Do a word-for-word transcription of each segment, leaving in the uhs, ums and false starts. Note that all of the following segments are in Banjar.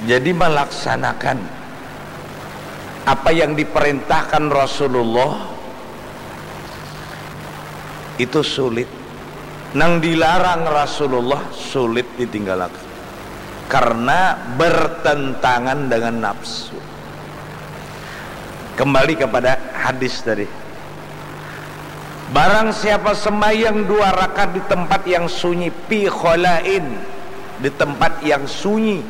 Jadi, melaksanakan apa yang diperintahkan Rasulullah itu sulit. Nang dilarang Rasulullah sulit ditinggalakan karena bertentangan dengan nafsu. Kembali kepada hadis tadi. Barang siapa sembahyang dua rakaat di tempat yang sunyi, fi khalain, di tempat yang sunyi,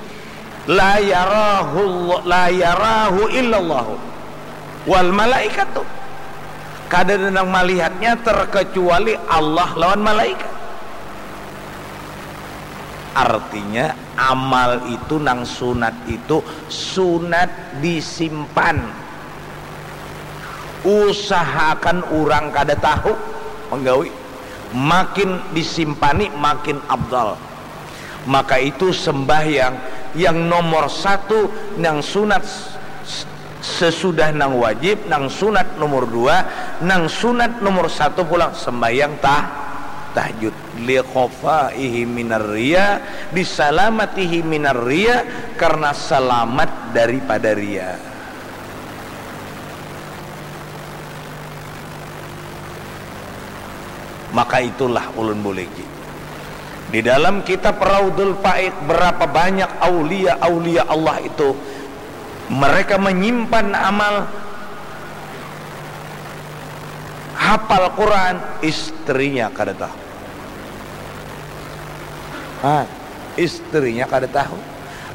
la yarahu, la yarahu illallahu wal malaikatu, kada ada nang malihatnya terkecuali Allah lawan malaikat. Artinya, amal itu nang sunat itu sunat disimpan. Usahakan urang kada tahu menggawi, makin disimpani makin afdal. Maka itu sembahyang yang nomor satu, nang sunat s-, sesudah nang wajib, nang sunat nomor dua, nang sunat nomor satu pulang sembahyang tah-, tahajud. Likhofaihi minar riya, disalamatihi minar riya, karena selamat daripada riya. Maka itulah ulun buliki. Di dalam kitab Raudul Faik, berapa banyak aulia-aulia Allah itu, mereka menyimpan amal, hafal Quran, istrinya kada tahu. Ah, istrinya kada tahu.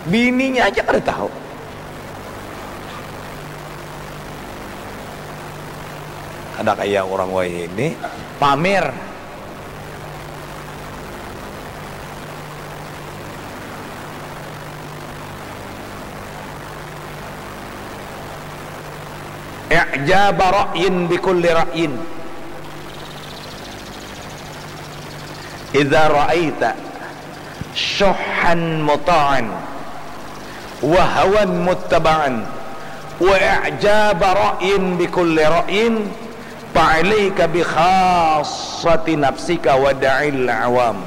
Bininya aja kada tahu. Ada kaya orang wahini pamer. I'jaba ra'yin bikulli ra'yin. Idza ra'aita syuhhan muta'an wa hawan muttaba'an wa i'jaba ra'yin bikulli ra'yin, fa'alaika bi khassati nafsika wa da'il awam.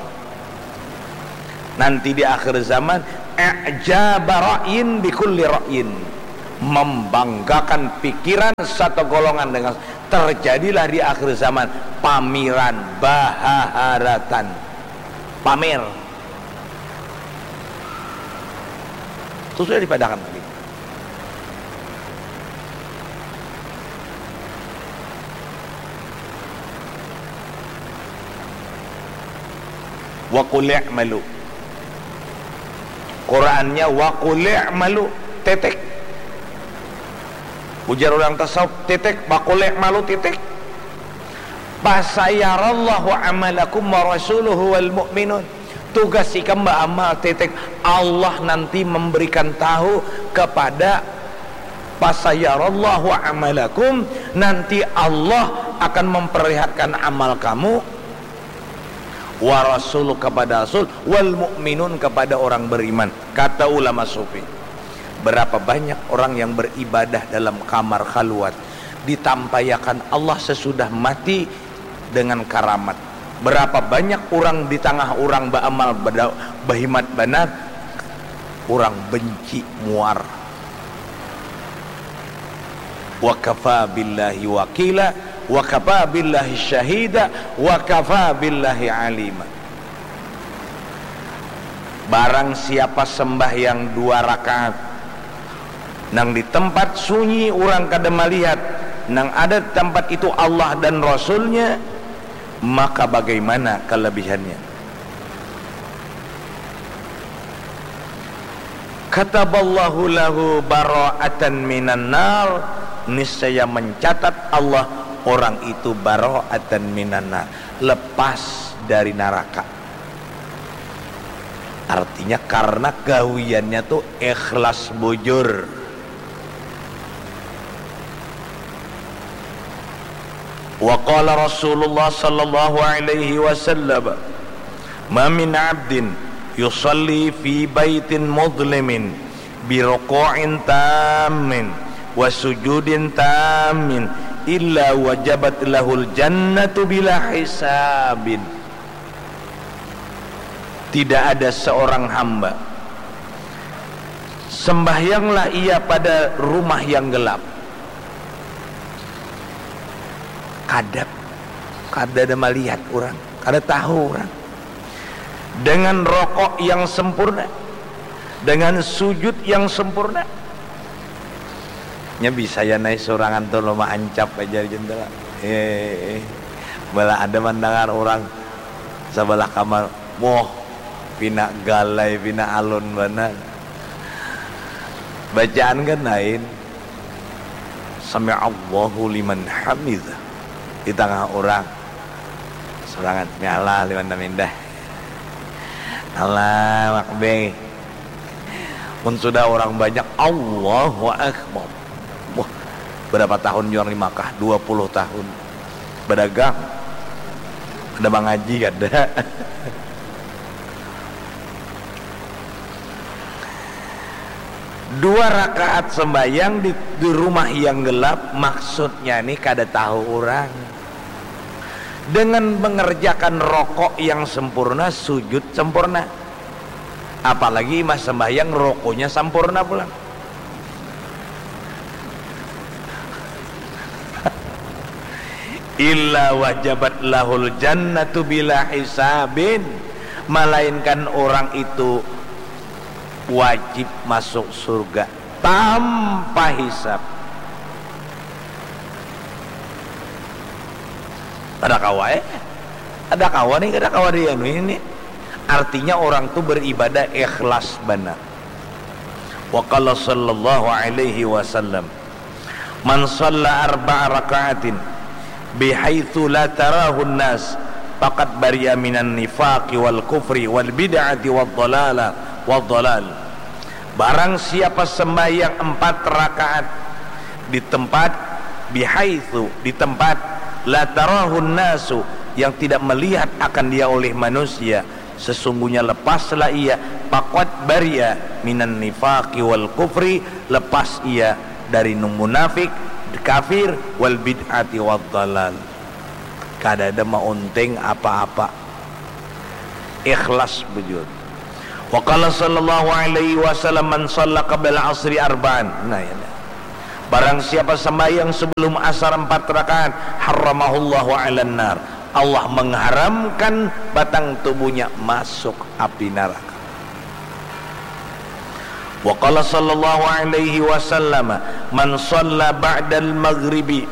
Nanti di akhir zaman, i'jaba ra'yin bikulli ra'yin, membanggakan pikiran satu golongan dengan, terjadilah di akhir zaman pamiran, bahaharatan, pamer. Itu sudah dipadakan lagi. Wa qul i'malu. Qurannya wa qul i'malu, titik. Ujar orang tasawuf, titik, wa qul i'malu, titik. Fasayarallahu amalakum wa rasuluhu wal mu'minun. Tugas ikam baamal, titik. Allah nanti memberikan tahu kepada, fasayarallahu amalakum, nanti Allah akan memperlihatkan amal kamu, wa rasul, kepada rasul, wal mu'minun, kepada orang beriman, kata ulama sufi. Berapa banyak orang yang beribadah dalam kamar khalwat, ditampayakan Allah sesudah mati dengan karamat. Berapa banyak urang di tangah urang baamal bada-, bahimat banar, urang benci muar. Wa kafa billahi wakila, wa kafa billahi syahida, wa kafa billahi alima. Barang siapa sembahyang dua rakaat, nang di tempat sunyi urang kada malihat, nang ada di tempat itu Allah dan Rasulnya, maka bagaimana kelebihannya? Kataballahu lahu bara'atan minan nar, niscaya mencatat Allah orang itu bara'atan minan nar, lepas dari naraka. Artinya, karena gawiannya tu ikhlas bujur. Wa qala Rasulullah sallallahu alaihi wasallam, "Ma min abdin yusalli fi baitin mudlimin bi ruku'in tammin wa sujudin tammin illa wajabat lahul jannatu bila hisabin." Tidak ada seorang hamba Sembahyanglah ia pada rumah yang gelap. Kadap, kada ada malihat orang, kada tahu orang. Dengan rokok yang sempurna, dengan sujud yang sempurna. Nya bisa ya nai surangan tu lo maancap aja jendela. Eh, bala ada mandangar orang sabalah kamar, moh, pina galai, pina alun banar. Bacaan kan lain. Sami'allahu liman hamidah. Di tangah orang. Surangan, "Sami'allah liman hamidah." Allah Akbar. Mun sudah orang banyak, Allahu Akbar. Wah, berapa tahun juang di Makkah? Dua puluh tahun. Badagang. Ada mangaji kada. Dua rakaat sembahyang di, di rumah yang gelap, maksudnya ni kada tahu orang. Dengan mengerjakan rokok yang sempurna, sujud sempurna. Apalagi imah sembahyang rokonya sempurna pulang. Illa wajabat lahul jannatu bila hisabin, malainkan orang itu wajib masuk surga tanpa hisab. Ada kawa eh? Ada kawa nih, ada kawa di anu ini. Artinya orang tu beribadah ikhlas banar. Wa qala sallallahu alaihi wasallam, "Man shalla arba'a raka'atin bihaitsu la tarahun nas, faqad bari'a minan nifaqi wal kufri wal bid'ati wad dhalala, wad dhalal." Barang siapa sembahyang empat rakaat di tempat, bihaitsu, di tempat, la tarahun nasu, yang tidak melihat akan dia oleh manusia, sesungguhnya lepaslah ia, faqad bari'a minan nifaqi wal kufri, lepas ia dari nung munafik, kafir, wal bid'ati wad dhalal. Kada ada maunting apa-apa. Ikhlas bujur. Wa qala sallallahu alaihi wasallam, "Man shalla qabla al-asri arba'an." Nah, ya. Barang siapa sembahyang sebelum asar empat rakaat, harramahullahu 'alan nar. Allah mengharamkan batang tubuhnya masuk api neraka. Wa qala sallallahu alaihi wasallam, "Man shalla ba'dal maghribi."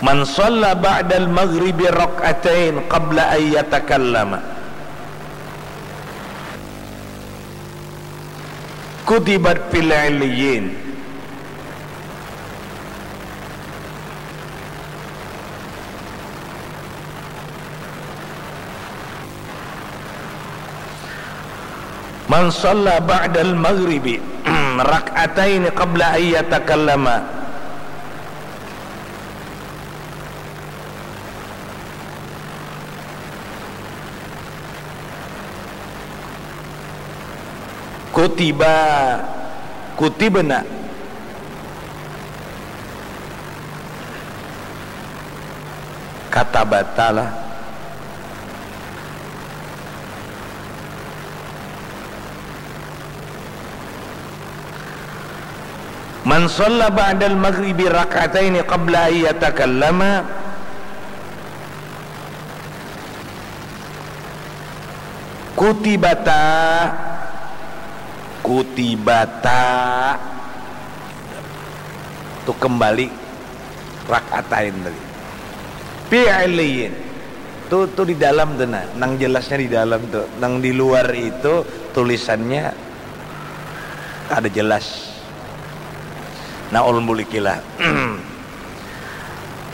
Man shalla ba'dal maghribi rak'atain qabla an yatakallama, kutibat fil 'illiyyin. Man shalla ba'dal maghribi rak'ataini qabla an yatakallama, kutiba, kutibna, katabata lah. Man shalla ba'dal maghribi rak'ataini qabla an yatakallama, kutibata, kutibata, tu kembali rak'atain tadi. Fi 'illiyyin. Tu, tu di dalam tu nah, nang jelasnya di dalam tu. Nang di luar itu tulisannya kada jelas. Nah, ulun bulikilah.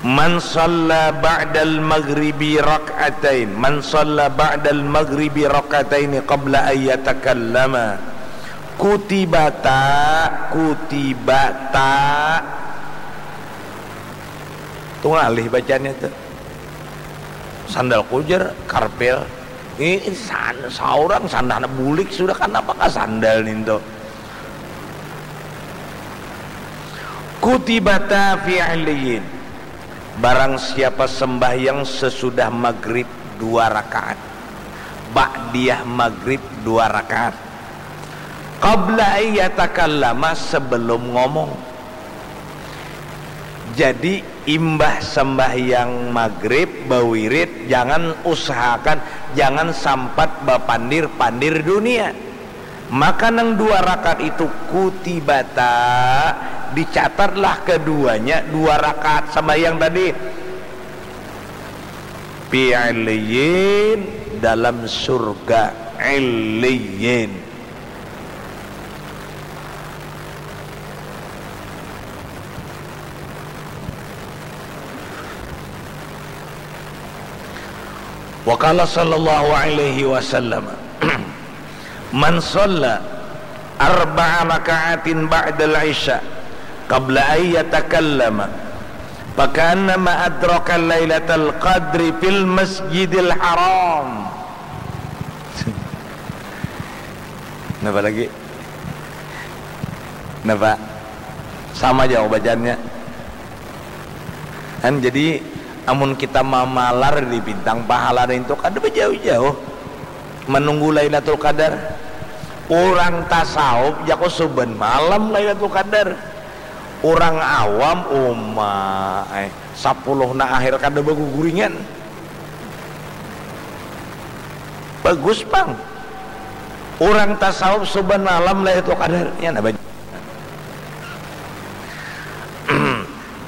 Man shalla ba'dal maghribi rak'atain, man shalla ba'dal maghribi rak'ataini qabla an yatakallama, kutibata, kutibata. Tu ngalih bacanya tu. Sandal kujar, karpel. Ini san-, saurang sandalnya bulik sudah, kanapa ka sandal nintu? Kutibata fi 'illiyyin. Barang siapa sembahyang sesudah maghrib dua rakaat. Ba'diyah magrib dua rakaat. Qabla ayyatakallama, sebelum ngomong. Jadi imbah sembahyang magrib bawirid, jangan, usahakan jangan sampat bapandir-pandir dunia. Maka nang dua rakaat itu kutibata, dicatatlah keduanya dua rakaat sembahyang tadi. Fi illiyin, dalam surga illiyin. Wa qala sallallahu alaihi wasallam, man shalla arba'a raka'atin ba'dal isya qabla an yatakallama, faka'annama adraka lailatal qadri fil masjidil haram. Napa lagi? Napa? Sama jauh bacaannya. Kan jadi, amun kita mamalar di bintang pahala itu kada bajauh-jauh menunggu Lailatul Qadar. Urang tasawuf jako suban malam Lailatul Qadar. Urang awam, uma ai, sapuluhna akhir kada baguguringan. Bagus pang. Urang tasawuf suban malam Lailatul Qadar. Ya, nah, baj-,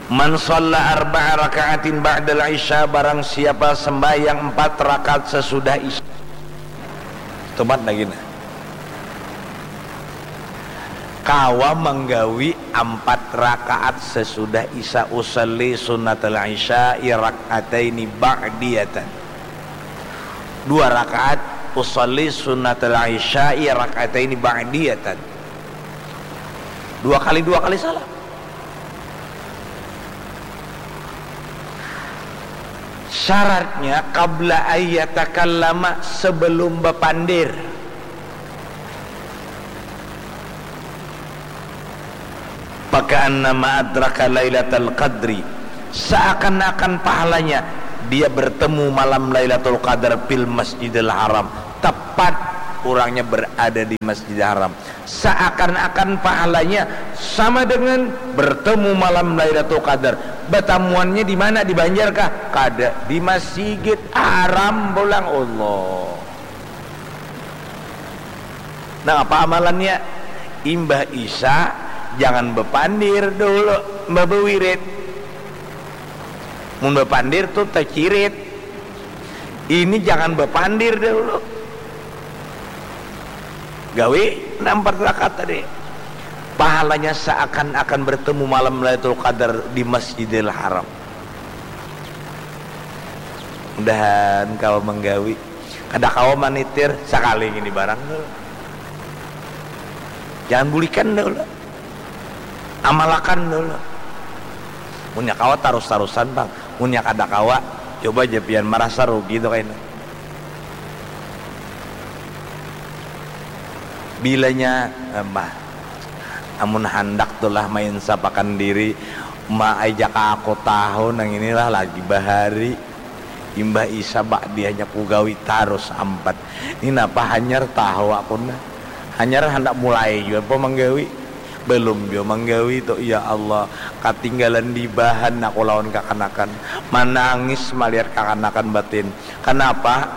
man shalla arba'a raka'atin ba'dal isya, barang siapa sembahyang empat rakaat sesudah isya. Tumat lagi nah. Kawa manggawi ampat rakaat sesudah isya, usalli sunnatal isya'i rak'ataini ba'diyatan. Dua rakaat, usalli sunnatal isya'i rak'ataini ba'diyatan. Dua kali, dua kali salam. Syaratnya qabla ayyatakallama, sebelum bapandir. Faka'annama adraka lailatal qadri, seakan-akan pahalanya dia bertemu malam Lailatul Qadar fil Masjidil Haram, tepat urangnya berada di Masjidil Haram. Seakan-akan pahalanya sama dengan bertemu malam Lailatul Qadar. Batamuannya di mana? Di Banjar kah? Kada, di Masjidil Haram pulang. Allah. Nah, apa amalannya? Imbah isya, jangan bepandir dulu, bawirid. Mun bepandir tu tacirit. Ini jangan bepandir dulu. Gawi nah empat rakaat tadi. Pahalanya seakan-akan bertemu malam Lailatul Qadar di Masjidil Haram. Mudahan kawa manggawi. Kada kawa manitir, sakali ngini barang dulu. Jangan bulikan dulu. Amalakan dulu. Munnya kawa tarus-tarusan pang. Munnya kada kawa, coba ja pian marasa rugi tu kaina. Bilanya, eh, mah, amun handak tu lah mainsapakan diri, ma ai jaka aku tahu nang inilah lagi bahari. Imbah isya ba'diyahnya kugawi tarus ampat. Ni napa hanyar tahu aku nah. Hanyar handak mulai jua apa manggawi. Belum jua manggawi tu, ya Allah. Katinggalan di bahan aku lawan kakanakan. Manangis malihat kakanakan batin. Kanapa?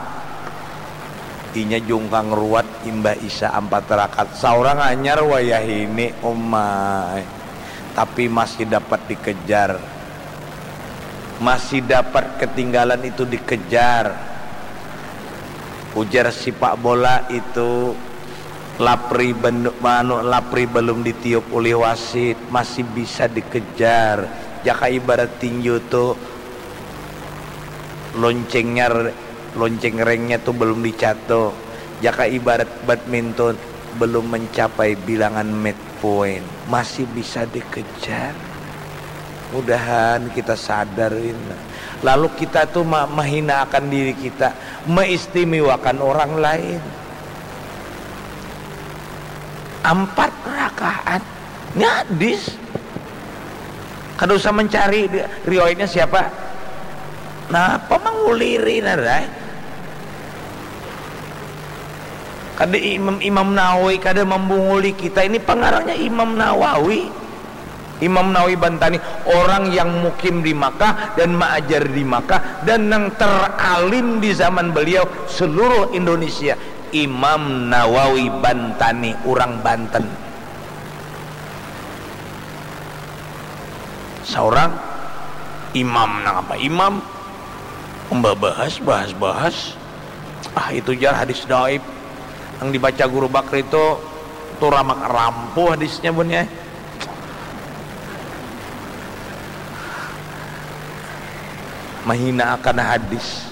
Inya jungkang ruwat imbah isya ampat rakaat. Saurang hanyar wayahini, umai. Tapi masih dapat dikejar. Masih dapat ketinggalan itu dikejar. Ujar sipak bola itu, lapri ben-, anu, lapri belum ditiup ulih wasit, masih bisa dikejar. Jaka ibarat tinju tu, loncengnya re-, lonceng rengnya tu belum dicato. Jaka ibarat badminton, belum mencapai bilangan match point, masih bisa dikejar. Mudahan kita sadar, Win. Lalu kita tu ma-, mahina akan diri kita, maistimewakan orang lain. Ampat rakaat. Ini hadis. Kada usah mencari di-, riwayatnya siapa. Napa manguliri, nah, rai? Ada Imam, Imam Nawawi kada membunguli kita, ini pengarangnya Imam Nawawi. Imam Nawawi Bantani, orang yang mukim di Makkah dan maajar di Makkah dan yang teralim di zaman beliau seluruh Indonesia, Imam Nawawi Bantani, orang Banten. Seorang imam, nang apa imam, membahas, bahas, bahas. Ah, itu jar hadis daib yang dibaca Guru Bakri itu, tu ramak rampuh hadisnya bunyi. Mahina akan hadis.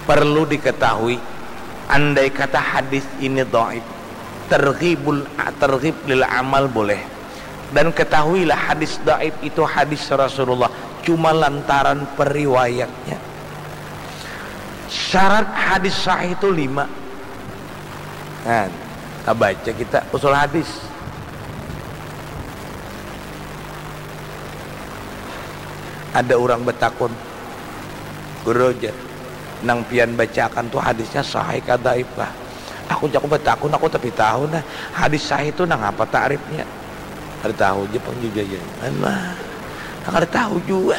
Perlu diketahui, andai kata hadis ini dhaif, terghibul, terghib lil amal boleh. Dan ketahuilah, hadis dhaif itu hadis Rasulullah cuma lantaran periwayatnya. Syarat hadis sahih itu lima. Nah, kita baca kita usul hadis. Ada orang betakun, "Guru," jar, "nang pian bacakan tu hadisnya sahih ka dhaif kah?" Aku jaku betakun, aku tapi tahu nah, hadis sahih tu nang apa takrifnya? Kada tahu ja pang juga ya. Alah, nang kada tahu juga.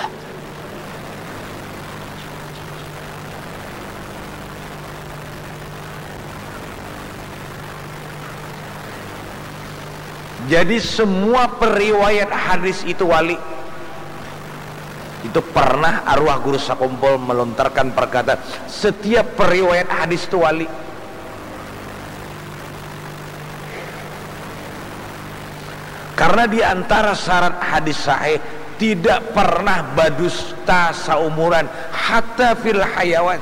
Jadi semua periwayat hadis itu wali. Itu pernah arwah Guru Sakumpul melontarkan perkataan, setiap periwayat hadis itu wali. Karena di antara syarat hadis sahih, tidak pernah badusta saumuran, hatta fil hayawan.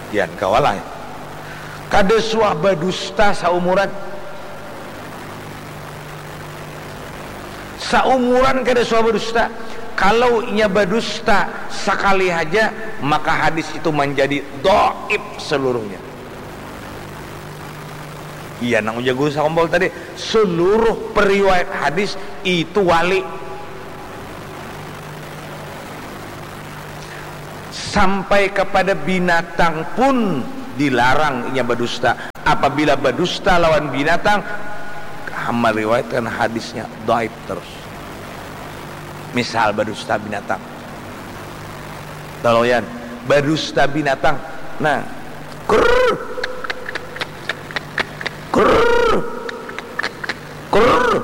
Yan kawalah. Kada suah badusta saumuran. Saumuran kada suah badusta. Kalau inya badusta sakali haja, maka hadis itu manjadi dhaif seluruhnya. Iya, nang ujar Guru Sakumpul tadi, seluruh periwayat hadis itu wali. Sampai kepada binatang pun dilarang inya badusta. Apabila badusta lawan binatang, meriwayatkan hadisnya dhaif terus. Misal badusta binatang. Toloyan, badusta binatang. Nah, krrr. Krrr. Krrr.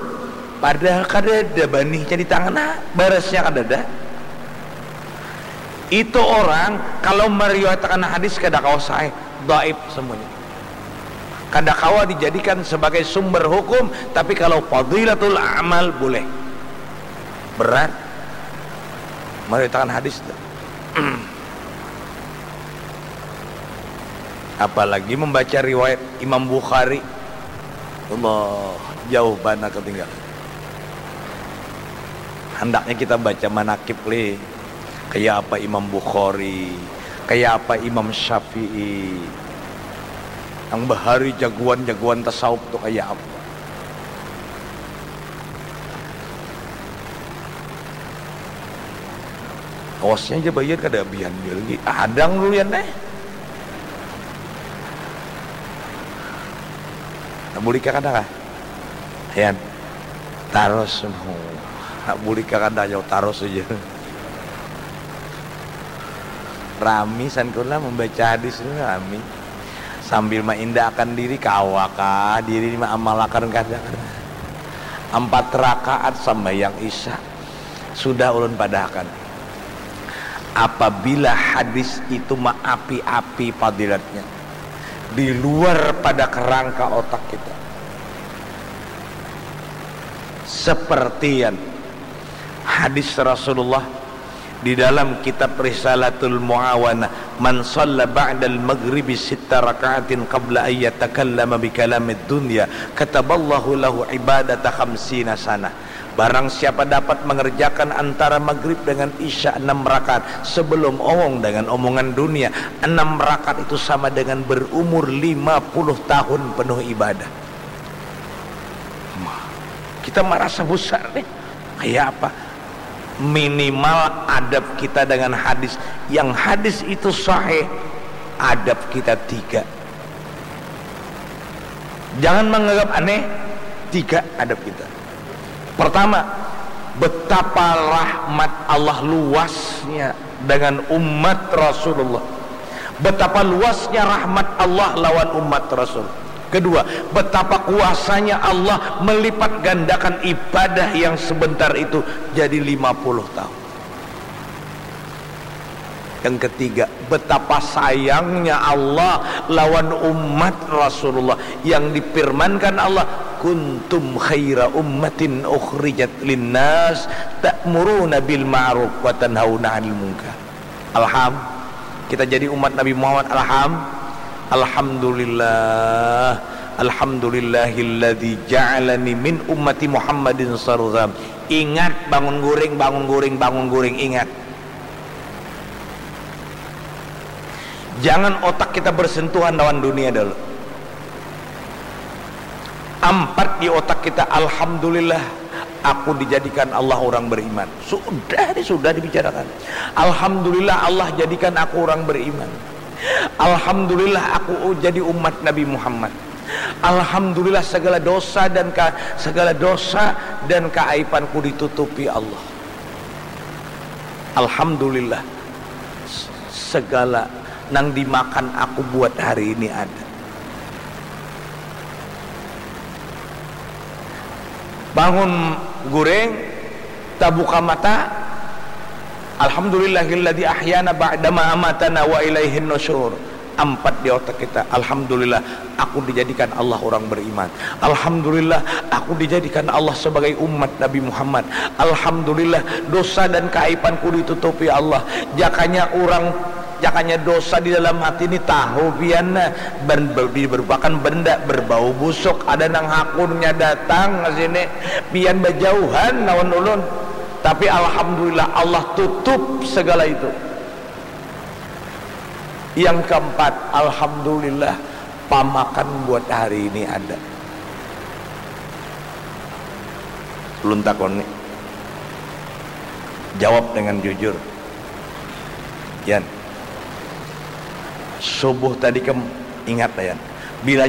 Padahal kadada banihnya di tangan, nah, barasnya kadada. Itu orang kalau meriwayatakan hadis kada kawa sahih, dhaif semuanya. Kada kawa dijadikan sebagai sumber hukum, tapi kalau fadilatul amal boleh. Berat meriwayatakan hadis tu. Apalagi membaca riwayat Imam Bukhari. Allah, jauh banar ketinggalan. Handaknya kita baca manakib lih. Kaya apa Imam Bukhari, kaya apa Imam Syafi'i. Nang bahari jagoan-jagoan tasawuf tu kaya apa. Awasnya aja bayar kada abihan dia lagi. Adang dulu yan eh. Nah, bulik ka kada kah? Yan. Tarus. Nah, bulik ka kada jauh tarus aja. Rami san kula membaca hadis ni rami. Sambil maindakan diri, kawa kah diri ni maamalakan kada kah. Ampat rakaat sambayang isya. Sudah ulun padahakan. Apabila hadis itu maapi-api fadilatnya, di luar pada kerangka otak kita. Seperti yang hadis Rasulullah di dalam kitab Risalatul Muawana, "Man shalla ba'dal maghribi sitta raka'atin qabla an yatakallama bi kalamid dunya, kataballahu lahu ibadata khamsina sanah." Barang siapa dapat mengerjakan antara maghrib dengan isya enam rakaat sebelum omong dengan omongan dunia, enam rakaat itu sama dengan berumur lima puluh tahun penuh ibadah. Wah, kita merasa besar nih. Kayak apa? Minimal adab kita dengan hadis. Yang hadis itu sahih, adab kita tiga. Jangan menganggap aneh tiga adab kita. Pertama, betapa rahmat Allah luasnya dengan umat Rasulullah. Betapa luasnya rahmat Allah lawan umat Rasul. Kedua, betapa kuasanya Allah melipat gandakan ibadah yang sebentar itu jadi lima puluh tahun. Yang ketiga, betapa sayangnya Allah lawan umat Rasulullah yang difirmankan Allah, "Kuntum khaira ummatin ukhrijat linnas ta'muruna bil ma'ruf wa tanhauna 'anil munkar." Alham, kita jadi umat Nabi Muhammad, alham, alhamdulillah, alhamdulillahilladzi ja'alani min ummati Muhammadin sarzam. Ingat, bangun guring, bangun guring, bangun guring, ingat. Jangan otak kita bersentuhan lawan dunia dulu. Ampat di otak kita, alhamdulillah, aku dijadikan Allah orang beriman. Sudah, ini sudah dibicarakan. Alhamdulillah, Allah jadikan aku orang beriman. Alhamdulillah, aku jadi umat Nabi Muhammad. Alhamdulillah, segala dosa dan ka, segala dosa dan keaibanku ditutupi Allah. Alhamdulillah, segala nang dimakan aku buat hari ini ada. Bangun guring, tabuka mata, alhamdulillahilladzi ahyana ba'dama amatana wa ilaihin nusyur. Ampat di otak kita, alhamdulillah, aku dijadikan Allah orang beriman. Alhamdulillah, aku dijadikan Allah sebagai umat Nabi Muhammad. Alhamdulillah, dosa dan keaibanku ditutupi Allah. Jakanya orang, jakanya dosa di dalam hati ini tahu pian, nah, ber, ber, berupakan benda berbau busuk, ada nang hakunnya datang ke sini, pian bejauhan lawan ulun. Tapi alhamdulillah, Allah tutup segala itu. Yang keempat, alhamdulillah, pamakan buat hari ini ada. Ulun takoni, jawab dengan jujur, Yan. Subuh tadi kam ingat lah, Yan. Bila